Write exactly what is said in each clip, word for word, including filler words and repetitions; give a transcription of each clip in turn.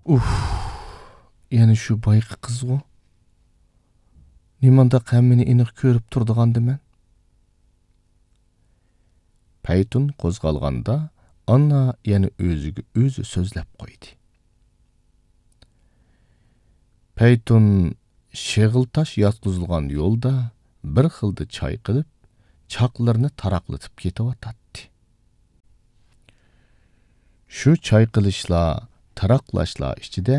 ئۇھ، يەنە شۇ بايىقى قىزغۇ. نېمانداق ھەممىنى ئېنىق كۆرۈپ تۇرىدىغاندىمەن؟ پەيتۇن قوزغالغاندا، ئاننا يەنە ئۆزىگە ئۆزى سۆزلەپ قويدى. پەيتۇن شېغىل تاش ياتقۇزۇلغان يولدا بىر خىلدا چايقىلىپ، چاقلىرىنى تاراقلىتىپ كېتىۋاتاتتى. شۇ چايقىلىشلار، تاراقلاشلار ئىچىدە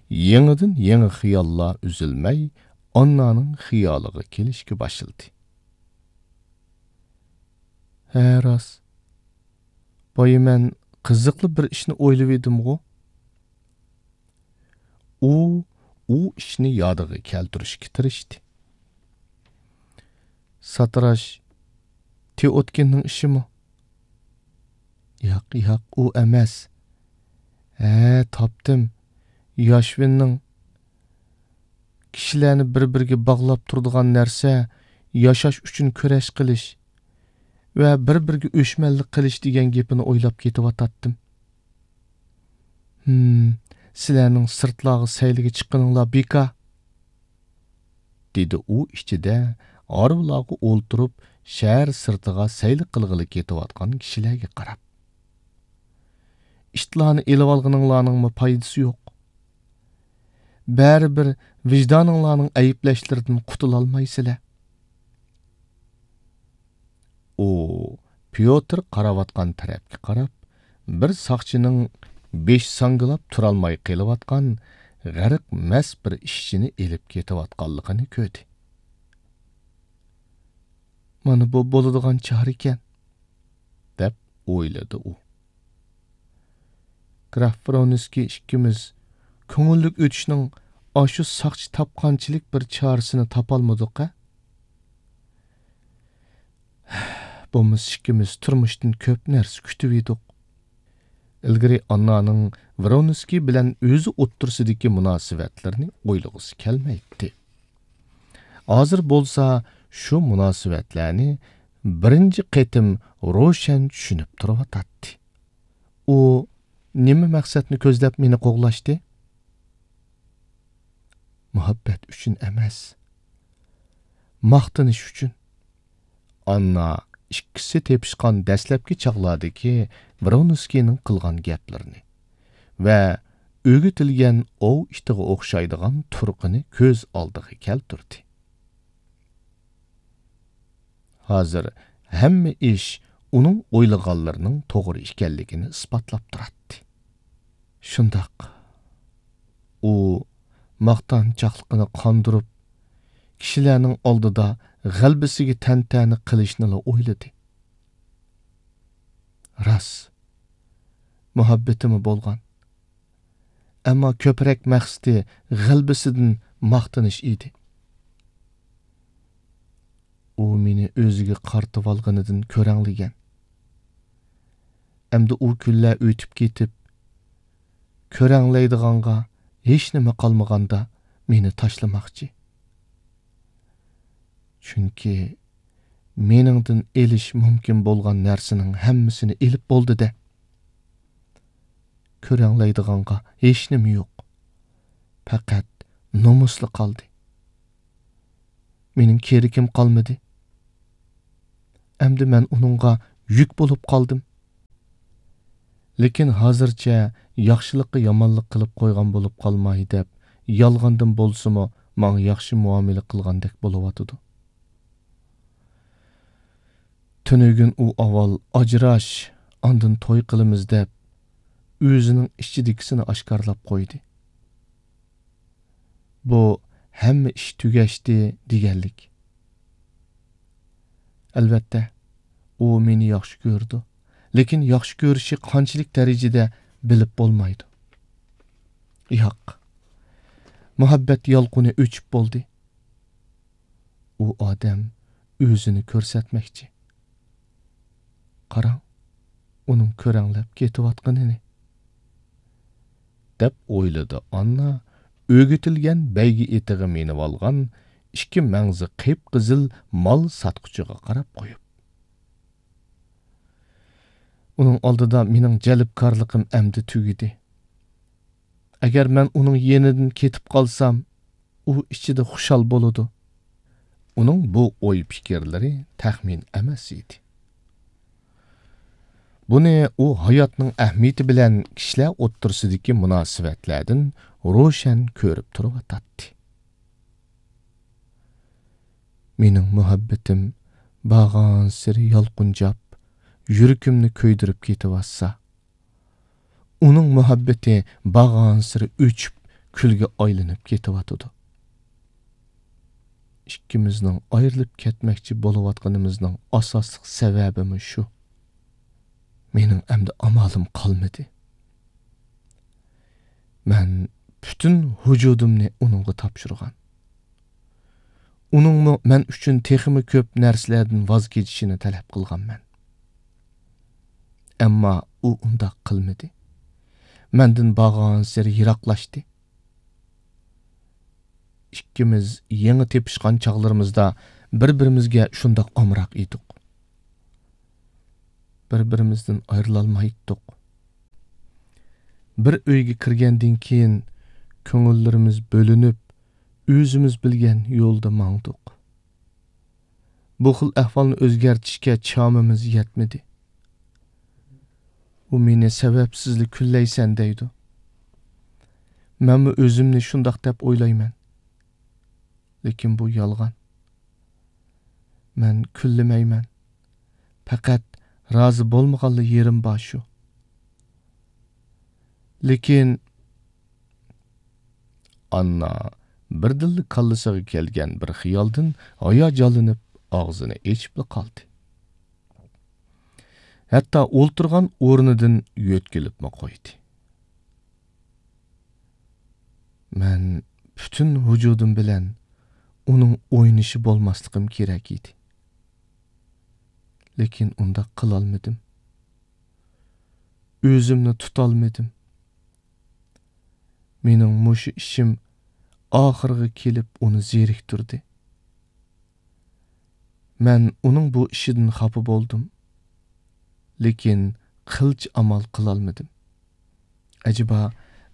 يېڭىدىن يېڭى خىياللار ئۈزۈلمەي ئاننانىڭ خىيالىغا كېلىشكە باشلىدى. ھە، راست. بايا مەن قىزىقلا بىر ئىشنى ئويلىۋىدىمغۇ؟ ئۇ، ئۇ ئىشنى يادىغا كەلتۈرۈشكە تىرىشتى. ساتىراش تېئوتكىننىڭ ئىشىمۇ؟ ياق، ياق، ئۇ ئەمەس. ھە، تاپتىم. ياشۋىننىڭ كىشىلەرنى بىر-بىرىگە باغلاپ تۇرىدىغان نەرسە ياشاش ئۈچۈن كۈرەش قىلىش ۋە بىر-بىرىگە ئۆچمەنلىك قىلىش دېگەن گېپىنى ئويلاپ كېتىۋاتاتتىم. ھىم، سىلەرنىڭ سىرتلارغا سەيلىگە چىققىنىڭلار بىكار، دېدى ئۇ ئىچىدە ھارۋىلارغا ئولتۇرۇپ، شەھەر سىرتىغا سەيلە قىلغىلى كېتىۋاتقان كىشىلەرگە قاراپ. ئىتلارنى ئېلىۋالغىنىڭلارنىڭمۇ پايدىسى يوق. بەرىبىر ۋىجدانىڭلارنىڭ ئەيىبلەشلىرىدىن قۇتۇلالمايسىلەر. ئۇ پيوتىر قاراۋاتقان تەرەپكە قاراپ، بىر ساقچىنىڭ بېشى ساڭگىلاپ تۇرالماي قېلىۋاتقان غەرق مەست بىر ئىشچىنى ئېلىپ كېتىۋاتقانلىقىنى كۆردى. مانا بۇ بولىدىغان چارىكەن، دەپ ئويلىدى ئۇ. گراف ۋرونسكىي ئىككىمىز كۆڭۈللۈك ئۆتۈشنىڭ ئاشۇ ساقچى تاپقانچىلىك بىر چارىسىنى تاپالمىدۇق-ھە؟ بولمىسا ئىككىمىز تۇرمۇشتىن كۆپ نەرسە كۈتۈۋىدۇق. ئىلگىرى ئاننانىڭ ۋرونسكىي بىلەن ئۆزى ئوتتۇرىسىدىكى مۇناسىۋەتلىرىنى ئويلىغۇسى كەلمەيتتى. ھازىر بولسا شۇ مۇناسىۋەتلەرنى بىرىنچى قېتىم روشەن چۈشىنىپ تۇرۇۋاتاتتى. ئۇ نېمە مەقسەتنى كۆزلەپ مېنى قوغلاشتى؟ مۇھەببەت ئۈچۈن ئەمەس، ماختىنىش ئۈچۈن. ئاننا ئىككىسى تېپىشقان دەسلەپكى چاغلاردىكى ۋرونسكىينىڭ قىلغان گەپلىرىنى ۋە ئۆگىتىلگەن ئوۋ ئىتىغا ئوخشايدىغان تۇرقىنى كۆز ئالدىغا كەلتۈردى. ھازىر ھەممە ئىش ئۇنىڭ ئويلىغانلىرىنىڭ توغرا ئىكەنلىكىنى ئىسپاتلاپ تۇراتتى. شۇنداق، ئۇ ماختانچاقلىقىنى قاندۇرۇپ، كىشىلەرنىڭ ئالدىدا غەلىبىسىگە تەنتەنە قىلىشنىلا ئويلىدى. راست، مۇھەببىتىمۇ بولغان. ئەمما كۆپرەك مەقسىتى غەلىبىسىدىن ماختىنىش ئىدى. ئۇ مېنى ئۆزىگە قارىتىۋالغىنىدىن كۆرەڭلىگەن. ئەمدى ئۇ كۈنلەر ئۆتۈپ كېتىپ، كۆرەڭلەيدىغانغا ھېچنېمە قالمىغاندا مېنى تاشلىماقچى. چۈنكى مېنىڭدىن ئېلىش مۇمكىن بولغان نەرسىنىڭ ھەممىسىنى ئېلىپ بولدى-دە. كۆرەڭلەيدىغانغا ھېچنېمە يوق. پەقەت نومۇسلا قالدى. مېنىڭ كېرىكىم قالمىدى. ئەمدى مەن ئۇنىڭغا يۈك بولۇپ قالدىم. لېكىن ھازىرچە ياخشىلىققا يامانلىق قىلىپ قويغان بولۇپ قالماي دەپ، يالغاندىن بولسىمۇ ماڭا ياخشى مۇئامىلە قىلغاندەك بولۇۋاتىدۇ. تۈنۈگۈن ئۇ ئاۋۋال «ئاجراش، ئاندىن توي قىلىمىز» دەپ، ئۆزىنىڭ ئىچىدىكىسىنى ئاشكارىلاپ قويدى. بۇ ھەممە ئىش تۈگەشتى دېگەنلىك. ئەلۋەتتە، ئۇ مېنى ياخشى كۆرىدۇ، لېكىن ياخشى كۆرۈشى قانچىلىك دەرىجىدە بىلىپ بولمايدۇ. ياق، مۇھەببەت يالقۇنى ئۆچۈپ بولدى. ئۇ ئادەم ئۆزىنى كۆرسەتمەكچى. قاراڭ، ئۇنىڭ كۆرەڭلەپ كېتىۋاتقىنىنى، دەپ ئويلىدى ئاننا ئۆگىتىلگەن بەيگە ئېتىغا مىنىۋالغان ئىككى مەڭزى قىپقىزىل مال ساتقۇچىغا قاراپ قويۇپ. ئۇنىڭ ئالدىدا مېنىڭ جەلپكارلىقىم ئەمدى تۈگىدى. ئەگەر مەن ئۇنىڭ يېنىدىن كېتىپ قالسام، ئۇ ئىچىدە خۇشال بولىدۇ. ئۇنىڭ بۇ ئوي-پىكىرلىرى تەخمىن ئەمەس ئىدى. بۇنى ئۇ ھاياتنىڭ ئەھمىيىتى بىلەن كىشىلەر ئوتتۇرىسىدىكى مۇناسىۋەتلەردىن روشەن كۆرۈپ تۇرۇۋاتاتتى. مېنىڭ مۇھەببىتىم بارغانسېرى يالقۇنجاپ، يۈرىكىمنى كۆيدۈرۈپ كېتىۋاتسا، ئۇنىڭ مۇھەببىتى بارغانسېرى ئۆچۈپ، كۈلگە ئايلىنىپ كېتىۋاتىدۇ. ئىككىمىزنىڭ ئايرىلىپ كەتمەكچى بولۇۋاتقىنىمىزنىڭ ئاساسلىق سەۋەبىمۇ شۇ. مېنىڭ ئەمدى ئامالىم قالمىدى. مەن پۈتۈن ۋۇجۇدۇمنى ئۇنىڭغا تاپشۇرغان. ئۇنىڭمۇ مەن ئۈچۈن تېخىمۇ كۆپ نەرسىلەردىن ۋاز كېچىشىنى تەلەپ قىلغانمەن. ئەمما ئۇ ئۇنداق قىلمىدى. مەندىن بارغانسېرى يىراقلاشتى. ئىككىمىز يېڭى تېپىشقان چاغلىرىمىزدا بىر-بىرىمىزگە شۇنداق ئامراق ئىدۇق. بىر-بىرىمىزدىن ئايرىلالمايتتۇق. بىر ئۆيگە كىرگەندىن كېيىن كۆڭۈللىرىمىز بۆلۈنۈپ، ئۆزىمىز بىلگەن يولدا ماڭدۇق. بۇ خىل ئەھۋالنى ئۆزگەرتىشكە چامىمىز يەتمىدى. ئۇ مېنى سەۋەبسىزلا كۈنلەيسەن دەيدۇ. مەنمۇ ئۆزۈمنى شۇنداق دەپ ئويلايمەن. لېكىن بۇ يالغان. مەن كۈنلىمەيمەن. پەقەت رازى بولمىغانلا يېرىم بار شۇ. لېكىن ئاننا بىردىنلا كاللىسىغا كەلگەن بىر خىيالدىن ھاياجانلىنىپ ئاغزىنى ئېچىپلا قالدى. ھەتتا ئولتۇرغان ئورنىدىن يۆتكىلىپمۇ قويدى. مەن پۈتۈن ۋۇجۇدۇم بىلەن ئۇنىڭ ئوينىشى بولماسلىقىم كېرەك ئىدى. لېكىن ئۇنداق قىلالمىدىم. ئۆزۈمنى تۇتالمىدىم. مېنىڭ مۇشۇ ئىشىم ئاخىرىغا كېلىپ ئۇنى زېرىكتۈردى. مەن ئۇنىڭ بۇ ئىشىدىن خاپا بولدۇم. لېكىن قىلچە ئامال قىلالمىدىم. ئەجەبا،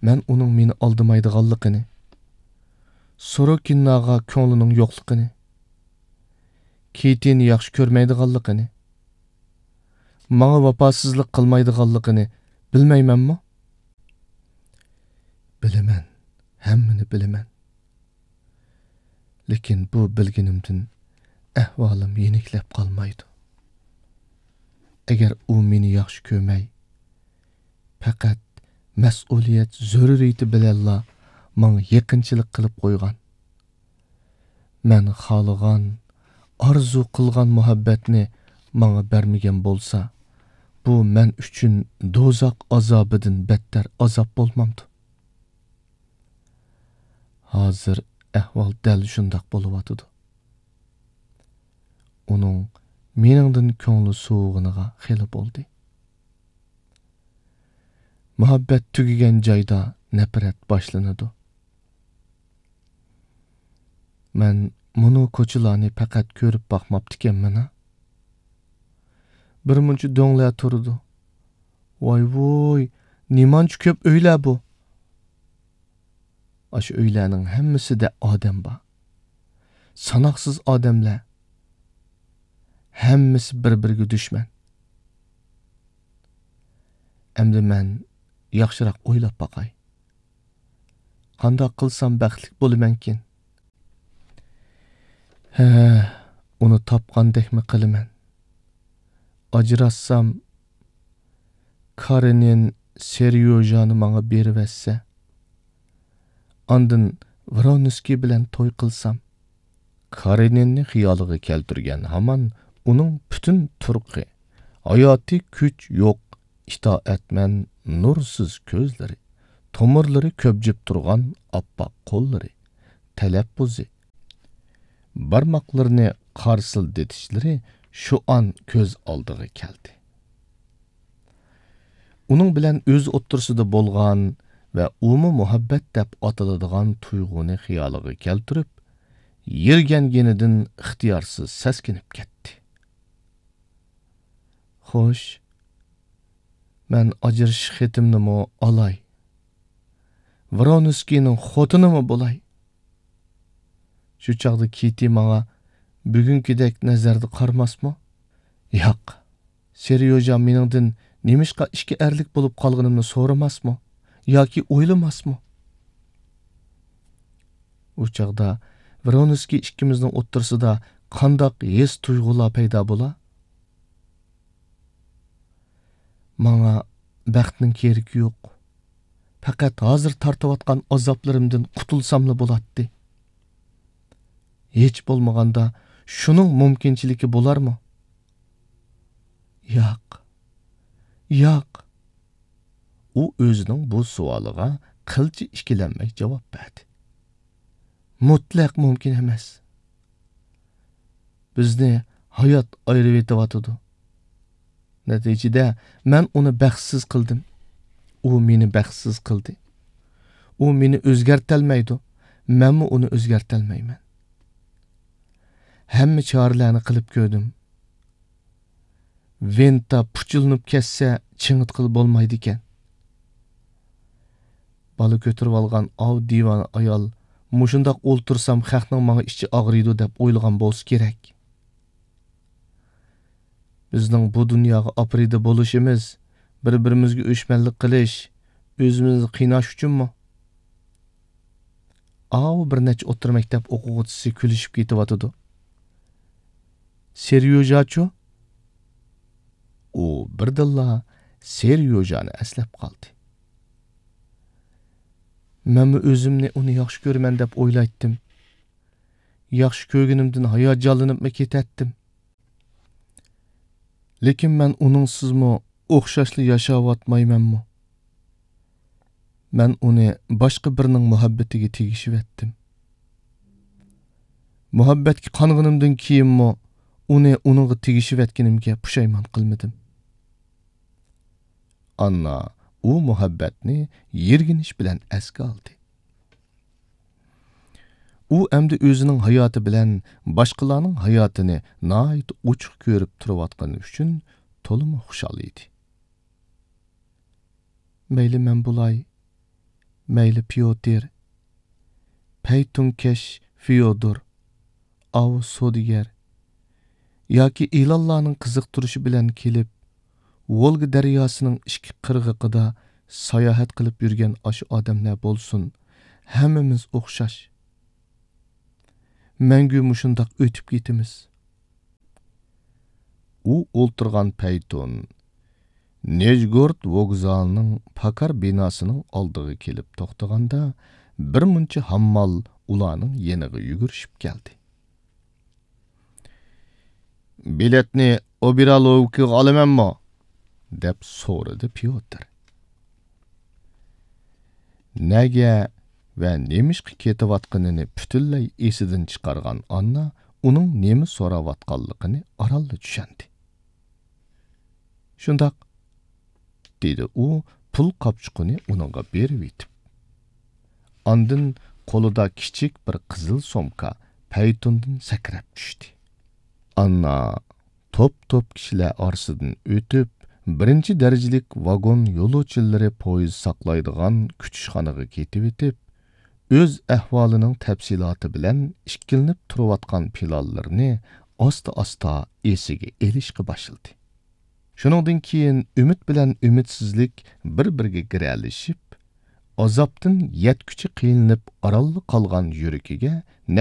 مەن ئۇنىڭ مېنى ئالدىمايدىغانلىقىنى، سوروكىناغا كۆڭلىنىڭ يوقلۇقىنى، كېتىنى ياخشى كۆرمەيدىغانلىقىنى، ماڭا ۋاپاسىزلىق قىلمايدىغانلىقىنى بىلمەيمەنمۇ؟ بىلىمەن، ھەممىنى بىلىمەن. لېكىن بۇ بىلگىنىمدىن ئەھۋالىم يېنىكلەپ قالمايدۇ. ئەگەر ئۇ مېنى ياخشى كۆرمەي، پەقەت مەسئۇلىيەت زۆرۈرىيىتى بىلەنلا ماڭا يېقىنچىلىق قىلىپ قويغان، مەن خالىغان، ئارزۇ قىلغان مۇھەببەتنى ماڭا بەرمىگەن بولسا، بۇ مەن ئۈچۈن دوزاخ ئازابىدىن بەتتەر ئازاب بولمامدۇ؟ ھازىر ئەھۋال دەل شۇنداق بولۇۋاتىدۇ. ئۇنىڭ مېنىڭدىن كۆڭلى سوۋۇغىنىغا خېلى بولدى. مۇھەببەت تۈگىگەن جايدا نەپرەت باشلىنىدۇ. مەن مۇنۇ كوچىلارنى پەقەت كۆرۈپ باقماپتىكەنمەن-ھە. بىر مۇنچە دۆڭلەر تۇرىدۇ. ۋاي-ۋۇي، نېمانچە كۆپ ئۆيلەر بۇ! ئاشۇ ئۆيلەرنىڭ ھەممىسىدە ئادەم بار. ساناقسىز ئادەملەر. ھەممىسى بىر-بىرىگە دۈشمەن. ئەمدى مەن ياخشىراق ئويلاپ باقاي. قانداق قىلسام بەختلىك بولىمەنكىن؟ ھە، ئۇنى تاپقاندەكمۇ قىلىمەن. ئاجراشسام، كارېنىن سېريوژانى ماڭا بېرىۋەتسە، ئاندىن ۋرونسكىي بىلەن توي قىلسام. كارېنىننى خىيالىغا كەلتۈرگەن ھامان ئۇنىڭ پۈتۈن تۇرقى، ھاياتىي كۈچ يوق، ئىتائەتمەن نۇرسىز كۆزلىرى، تومۇرلىرى كۆبجۈپ تۇرغان ئاپئاق قوللىرى، تەلەپپۇزى، بارماقلىرىنى قارسىلدىتىشلىرى شۇ ئان كۆز ئالدىغا كەلدى. ئۇنىڭ بىلەن ئۆز ئوتتۇرىسىدا بولغان ۋە ئۇمۇ مۇھەببەت دەپ ئاتىلىدىغان تۇيغۇنى خىيالىغا كەلتۈرۈپ، يىرگەنگىنىدىن ئىختىيارسىز سەسكىنىپ كەتتى. خوش، مەن ئاجرىشىش خېتىمنىمۇ ئالاي. ۋرونسكىينىڭ خوتۇنىمۇ بولاي. شۇ چاغدا كىتى ماڭا بۈگۈنكىدەك نەزەردە قارىماسمۇ؟ ياق، سېريوژا مېنىڭدىن نېمىشقا ئىككى ئەرلىك بولۇپ قالغىنىمنى سورىماسمۇ ياكى ئويلىماسمۇ؟ ئۇ چاغدا ۋرونسكىي ئىككىمىزنىڭ ئوتتۇرىسىدا قانداق ھېس-تۇيغۇلار پەيدا بولا؟ ماڭا بەختنىڭ كېرىكى يوق. پەقەت ھازىر تارتىۋاتقان ئازابلىرىمدىن قۇتۇلساملا بولاتتى. ھېچ بولمىغاندا شۇنىڭ مۇمكىنچىلىكى بولارمۇ؟ ياق. ياق. ئۇ ئۆزىنىڭ بۇ سوئالىغا قىلچە ئىككىلەنمەي جاۋاب بەردى. مۇتلەق مۇمكىن ئەمەس. بىزنى ھايات ئايرىۋېتىۋاتىدۇ. نەتىجىدە، مەن ئۇنى بەختسىز قىلدىم. ئۇ مېنى بەختسىز قىلدى. ئۇ مېنى ئۆزگەرتەلمەيدۇ. مەنمۇ ئۇنى ئۆزگەرتەلمەيمەن. ھەممە چارىلەرنى قىلىپ كۆردۈم. ۋىنتا پۇچىلىنىپ كەتسە، چىڭىتقىلى بولمايدىكەن. بالا كۆتۈرۈۋالغان ئاۋۇ دىۋانە ئايال مۇشۇنداق ئولتۇرسام، خەقنىڭ ماڭا ئىچى ئاغرىيدۇ دەپ ئويلىغان بولسا كېرەك. بىزنىڭ بۇ دۇنياغا ئاپىرىدە بولۇشىمىز، بىر-بىرىمىزگە ئۆچمەنلىك قىلىش، ئۆزىمىزنى قىيناش ئۈچۈنمۇ؟ ئاۋۇ بىر نەچچە ئوتتۇرا مەكتەپ ئوقۇغۇچىسى كۈلۈشۈپ كېتىۋاتىدۇ. سېريوژاچۇ؟ ئۇ بىردىنلا سېريوژانى ئەسلەپ قالدى. مەنمۇ ئۆزۈمنى ئۇنى ياخشى كۆرىمەن دەپ ئويلايتتىم. ياخشى كۆرگىنىمدىن ھاياجانلىنىپمۇ كېتەتتىم. لېكىن مەن ئۇنىڭسىزمۇ ئوخشاشلا ياشاۋاتمايمەنمۇ؟ مەن ئۇنى باشقا بىرىنىڭ مۇھەببىتىگە تېگىشىۋەتتىم. مۇھەببەتكە قانغىنىمدىن كېيىنمۇ ئۇنى ئۇنىڭغا تېگىشىۋەتكىنىمگە پۇشايمان قىلمىدىم. ئاننا ئۇ مۇھەببەتنى يىرگىنىش بىلەن ئەسكە ئالدى. ئۇ ئەمدى ئۆزىنىڭ ھاياتى بىلەن باشقىلارنىڭ ھاياتىنى ناھايىتى ئوچۇق كۆرۈپ تۇرۇۋاتقىنى ئۈچۈن تولىمۇ خۇشال ئىدى. مەيلى مەن بولاي، مەيلى پيوتىر، پەيتۇنكەش فيودور، ئاۋۇ سودىگەر ياكى ئېلانلارنىڭ قىزىقتۇرۇشى بىلەن كېلىپ، ۋولگا دەرياسىنىڭ ئىككى قىرغىقىدا ساياھەت قىلىپ يۈرگەن ئاشۇ ئادەملەر بولسۇن، ھەممىمىز ئوخشاش. مەڭگۈ مۇشۇنداق ئۆتۈپ كېتىمىز. ئۇ ئولتۇرغان پەيتۇن نىژگورود ۋوگزالىنىڭ پاكار بىناسىنىڭ ئالدىغا كېلىپ توختىغاندا، بىر مۇنچە ھاممال ئۇلارنىڭ يېنىغا يۈگۈرۈشۈپ كەلدى. بېلەتنى ئوبېرالوۋكىغا ئالىمەنمۇ؟ دەپ سورىدى پيوتىر. نەگە ۋە نېمىشقا كېتىۋاتقىنىنى پۈتۈنلەي ئېسىدىن چىقارغان ئاننا ئۇنىڭ نېمە سوراۋاتقانلىقىنى ئارانلا چۈشەندى. شۇنداق، دېدى ئۇ پۇل قاپچۇقىنى ئۇنىڭغا بېرىۋېتىپ. ئاندىن قولىدا كىچىك بىر قىزىل سومكا پەيتۇندىن سەكرەپ چۈشتى. ئاننا توپ-توپ كىشىلەر ئارىسىدىن ئۆتۈپ، بىرىنچى دەرىجىلىك ۋاگون يولۇچىلىرى پويىز ساقلايدىغان كۈتۈشخانىغا كېتىۋېتىپ، ئۆز ئەھۋالىنىڭ تەپسىلاتى بىلەن ئىككىلىنىپ تۇرۇۋاتقان پىلانلىرىنى ئاستا-ئاستا ئېسىگە ئېلىشقا باشلىدى. شۇنىڭدىن كېيىن ئۈمىد بىلەن ئۈمىدسىزلىك بىر-بىرىگە گىرەلىشىپ، ئازابتىن يەتكۈچە قىينىلىپ ئارانلا قالغان يۈرىكىگە